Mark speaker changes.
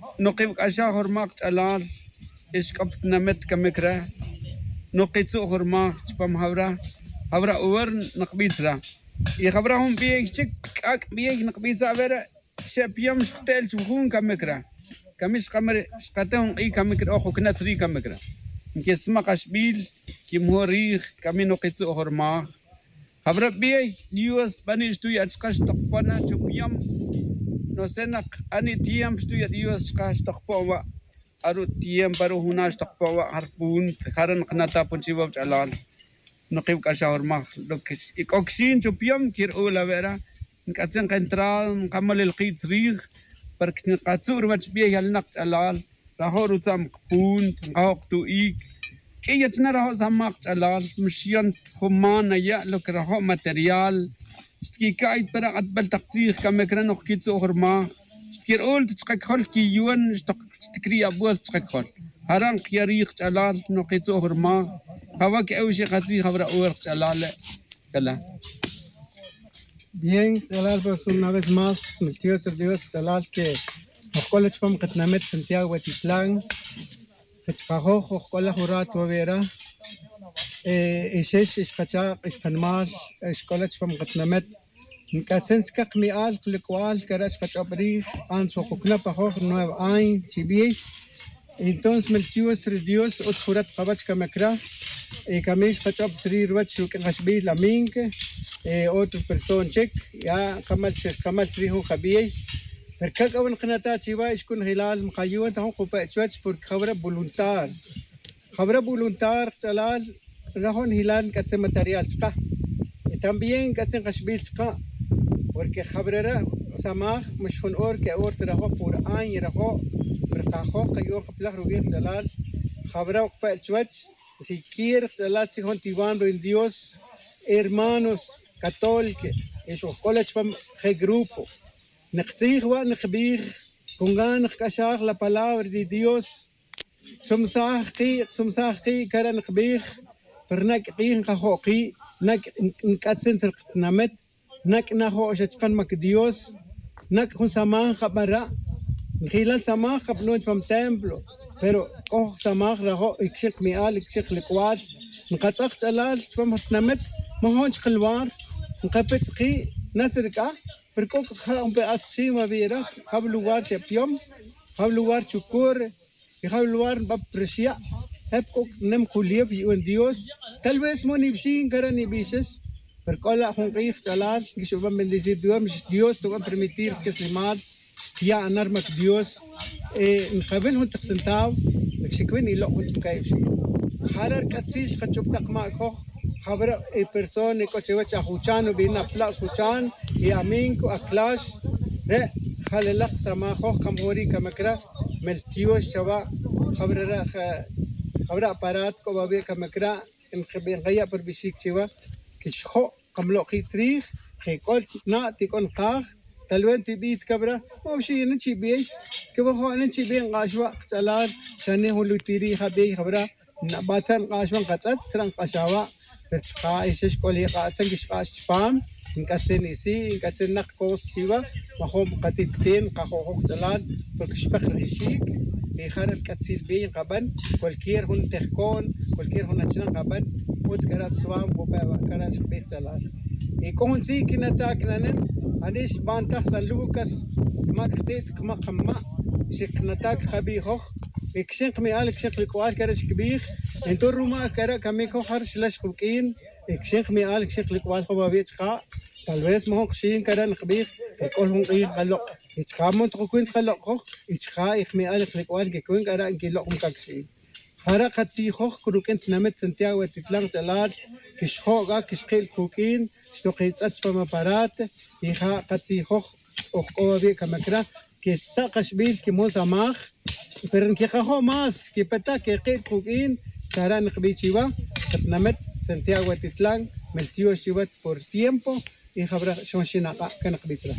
Speaker 1: Nuqib'k'axaj jurmaq ch'alal ixk'optnamet kamikra nuqitzu jurmaq chpam jawra jawra uwer naqb'itzra y jawra jun b'iey chik k'ak' b'iey naqb'itza vera xepyom xqtel chujun kamikra kamish qamar xqate jun q'ij kamikra ojo knatzri kamikra nkismaq axb'il kimjorij camino qitzu jurmaq jawra b'iey Dios b'anix tuya achqax toqpana chupyom no sé naq ani tiempo xtuya Dios xqax toqpowa aru tiempo aru junax toqpowa harpunt jaran qnata punchiwa ch'alal nuqib'k'axaj jurmaq lo que ik'okxin chupyom kir'ula vera nk'atzin qentral nqamal el qitz riij porque nqatzur wach b'iey alnaq ch'alal rajo rutzam qpunt nqajoq tu'ik k'iyachna rajo samaq ch'alal mxyant jumana ya lo que rajo material xtkika'yt para q'atb'al taq tziij kamikra noq kitzu' jurmaq xtkir'ul tchqakjol kiyuwan xtikri'ab'uel tchqakjol jaran qyariij ch'alal noq kitzu' jurmaq jawa k'ewxi qatziij jawra uwer ch'alal kala.
Speaker 2: Bien, Chalal, pues una vez más, mi tío Dios, Chalal, que Ojola chpam qatnamet Santiago Huetitlán, Qechqajoj, ojola jurato vera, ishesh ishqachaq, ishqanmal, ishkola chpam qatnamet, nk'atzentzkaq mi'al qlikwal, karash qach'obrij, anso quknapajoj 9 años, chibiey. Entonces, el tío Dios, utz jurat qabach kamakra, kamish qach'ob tzri ruwach ruk'in laminke, otro person chik, ya qamal qamal tzri jun qabiyey. Pero kak awan qnata chiwa ishkun hilal mqayuan tahun qupa chuach porque xabra voluntar. Xabra voluntar chalal rajón hilal katse material chqa. Y también katse qashbil chqa. Porque xabrera samaj mshkhun or ke or trajo por año rajo perqajo qayo qplaj rubin chalal xabra qupa chuach si quiere chalal si tiwan en Dios hermanos católicos eso college pam grupo نقتيخ ونقبيخ كونغان نقشاخ la palabra de Dios سمساخقي سمساخقي كرا نقبيخ برنك قي نقخوقي نك نكاتسن ترقتنامت نك نخو شتقن مك Dios نك خون سمان خبرا نخيلال سمان خبنون فم templo pero كوخ سمان رهو يكشق ميال يكشق لكوال نقاتخ تلال فم تنمت ما هونش قلوار نقبت قي نسرقه Pero un pedazo ma viera, hab lugar se piom, hab lugar chukur, y hab lugar va precia, hab kok nem kuliev y un Dios, tal vez mo ni bshin cara ni biches, pero kola jun qij chalal, que va a bendecir Dios, Dios te va a permitir que se mal, stia anarmak Dios, نقابل هون تقسنتاو، شكوين يلو هون كايف شي. حرر كاتسيش خدشوب تقما كوخ خبر e persone coche ajuchan bina plas huchan y aminko aklash re khalelaq samajo kamhori kamakra meltio shawa خبر خبر aparat ko babe kamakra en khaya per bishik chiwa kishho qamlo qitrij khikol na tikon qaj talwen tibit kabra mamshi nchi bi ke bo nchi bi qashwa tsalal shane hulutiri khabi khabra batan qashwan qatsat tran qashawa perchqa ishesh koli qatsan kishqash chpam nkatsen isi nkatsen naq kos chiwa mahom qatitqin qajojoq tsalal porque shpaq rishik y jarar katsil bi qaban cualquier hun tehkon cualquier hun achnan qaban ut kara swam go pa kara shbih tsalal y con si kinata knanen anish ban tax San Lucas ma ktit kma qamma shiknatak qabijoq ikxin qmial ikxin qlikwal kara shkbij entonces ruma kara kamiko har shlash qubkin ikxin qmial ikxin qlikwal qobabich qa tal vez mo qxin kara nqbij ikol hun qij qaloq ichqa mon tqukun qaloq ichqa iqmial qlikwal kikun kara nkiloq mkakxi jara qatsijoq kurukin tnamet Santiago Titlán Chalal kixjoga kixqil kukin xtoqitz'ach pamaparat hija qatsijoq oqobi kamakra que está qashbil que mo samaj pero en que jajo más que peta que qil kukin karan qbichiwa tnamet Santiago Titlán meltio chiwat por tiempo y jabra shonshinaqa kan qbitra.